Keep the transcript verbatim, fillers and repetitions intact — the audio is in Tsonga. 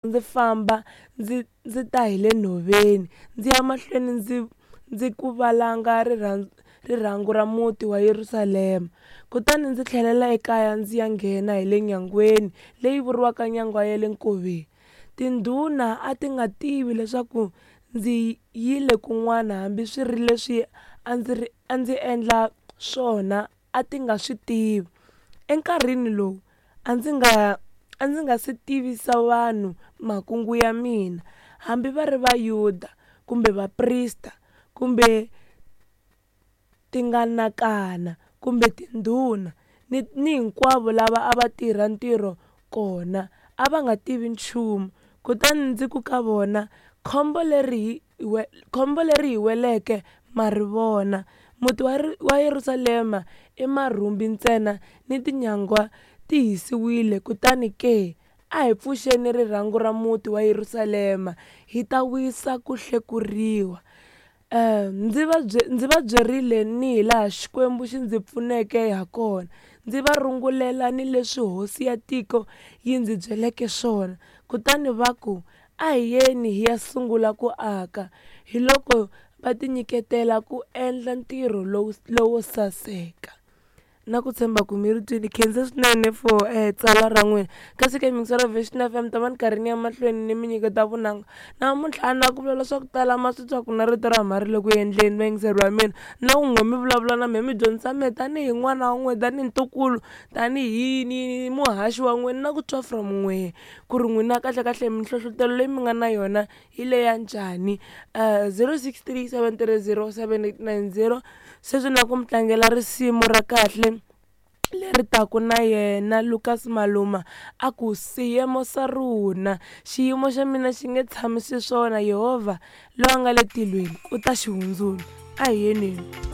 Ndzi famba ndzi ndzi ta hi le nhoveni, ndzi ya mahlweni ndzi ndzi ku valanga rirhangu ra muti wa Yerusalema. Kutani ndzi tlhelela ekaya ndzi ya nghena hi le nyangweni leyi vuriwaka Nyangwa ya le Nkoveni. Tindhuna a ti nga tivi leswaku ndzi yile kun'wana, hambi swi ri leswi a ndzi ri a ndzi endla swona a ti nga swi tivi. Enkarhini lowu a ndzi nga a ndzi nga si tivisa vanhu makungu ya mina, hambi va ri Vayuda, kumbe vaprista, kumbe tinganakana, kumbe tindhuna, ni ni hinkwavo lava a va tirha ntirho kona, a va nga tivi nchumu. Kutani ndzi ku ka vona, Khombo leri hi khombo leri hi weleke ma ri vona! Muti wa wa Yerusalema i marhumbi ntsena, ni tinyangwa ti hisiwile, kutani ke, a hi pfuxeni rirhangu ra muti wa Yerusalema, hi ta wisa ku hlekuriwa. Ndzi va ndzi va byerile ni hilaha Xikwembu xi ndzi pfuneke hakona, ndzi va rungulela ni leswi hosi ya tiko yi ndzi byeleke swona. Kutani va ku, A hi yeni hi ya sungula ku aka. Hiloko va tinyiketela ku endla ntirho lowu lowo saseka. Na ku tshemba ku mi ri twile khensa swinene for tsalwa ra n'wina kasi ke miyingiseri Vision F M ta va ni karhi ni ya mahlweni ni mi nyiketa vunanga namuntlha a na ku vulavula swa ku tala ma swi twa ku na rito ra huma ri le ku endleni vayingiseri va mina na ku n'we mi vulavula na mehe mi dyondzisa mehe tanihi n'wana wa n'wina tanihi ntukulu tanihi yini muhaxi wa n'wina na ku twa from n'wehe ku ri n'wina kahlekahle minhlohlotelo leyi mi nga na yona hi leya njhani zero six three seven three zero seven eight nine zero sweswi na ku mi tlangela risimu ra kahle leri taku na yena Lucas Maluma a ku siyemo sa rona xiyimo xa mina xi nge tshami xiswona Yehovha loyi a nga le tilweni u ta xi hundzula a hi yeneni.